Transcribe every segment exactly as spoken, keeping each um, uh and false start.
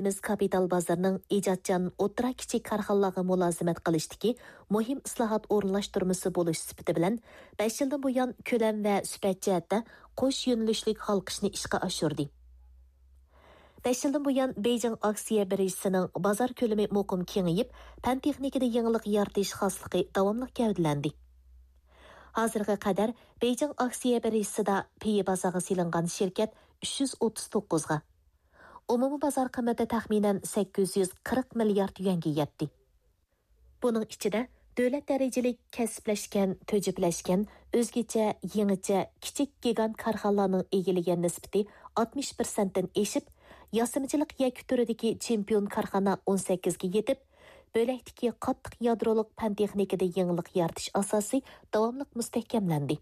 دۆلىتىمىز كاپىتال بازىرىنىڭ ئىجادچان ئوتتۇرا، كىچىك كارخانىلارغا مۇلازىمەت قىلىشتىكى مۇھىم ئىسلاھات ئورۇنلاشتۇرمىسى بولۇش سۈپىتى بىلەن، بەش يىلدىن بۇيان كۆلەم ۋە سۈپەت جەھەتتە قوش يۆنىلىشلىك ھالقىشنى ئىشقا ئاشۇردى. بەش يىلدىن بۇيان، بېيجىڭ ئاكسىيە بىرژىسىنىڭ بازار كۆلىمى مۇقىم كېڭىيىپ، پەن تېخنىكىدا يېڭىلىق يارىتىش خاسلىقى داۋاملىق گەۋدىلەندى. ھازىرغا قەدەر بېيجىڭ ئاكسىيە بىرژىسىدا پېيى بازارغا سېلىنغان شىركەت ئۈچ يۈز ئوتتۇز توققۇزغا، ئومۇمىي بازار قىممىتى تەخمىنەن سەككىز يۈز قىرىق مىليارد يۈەنگە يەتتى. بۇنىڭ ئىچىدە دۆلەت دەرىجىلىك كەسىپلەشكەن، تۈجۈپلەشكەن، ئۆزگىچە، يېڭىچە، كىچىك گىگانت كارخانىلارنىڭ ئىگىلىگەن نىسبىتى ئاتمىش پىرسەنتتىن ئېشىپ، ياسىمىچىلىق يەككە تۈرىدىكى چېمپىيون كارخانا ئون سەككىزگە يېتىپ، بۆلەكتىكى قاتتىق يادرولۇق پەن تېخنىكىدا يېڭىلىق يارىتىش ئاساسى داۋاملىق مۇستەھكەملەندى.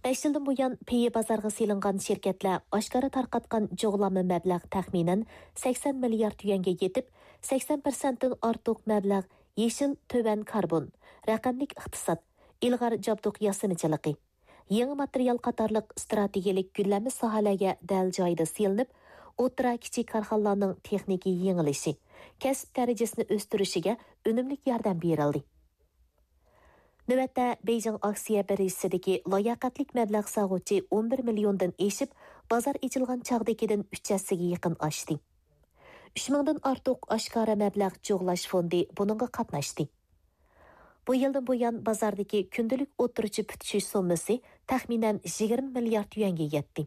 بەش يىلدىن بۇيان، پېيى بازارغا سېلىنغان شىركەتلەر ئاشكارا تارقاتقان جۇغلانما مەبلەغ تەخمىنەن سەكسەن مىليارد يۈەنگە يېتىپ، سەكسەن پىرسەنتتىن ئارتۇق مەبلەغ يېشىل، تۆۋەن كاربون، رەقەملىك ئىقتىساد، ئىلغار جابدۇق ياسىمىچىلىقى، يېڭى ماتېرىيال قاتارلىق ئىستراتېگىيەلىك گۈللەنمە ساھەلەرگە دەل جايىدا سېلىنىپ، ئوتتۇرا، كىچىك كارخانىلارنىڭ تېخنىكا يېڭىلىشى، كەسىپ دەرىجىسىنى ئۆستۈرۈشىگە ئۈنۈملۈك ياردەم بېرىلدى. نۆۋەتتە، بېيجىڭ ئاكسىيە بىرژىسىدىكى لاياقەتلىك مەبلەغ سالغۇچى ئون بىر مىليوندىن ئېشىپ، بازار ئېچىلغان چاغدىكىدىن ئۈچ ھەسسىگە يېقىن ئاشتى. ئۈچ مىڭدىن ئارتۇق ئاشكارا مەبلەغ جۇغلاش فوندى بۇنىڭغا قاتناشتى. بۇ يىلدىن بۇيان، بازاردىكى كۈندىلىك ئوتتۇرىچە پۈتۈشۈش سوممىسى تەخمىنەن يىگىرمە مىليارد يۈەنگە يەتتى.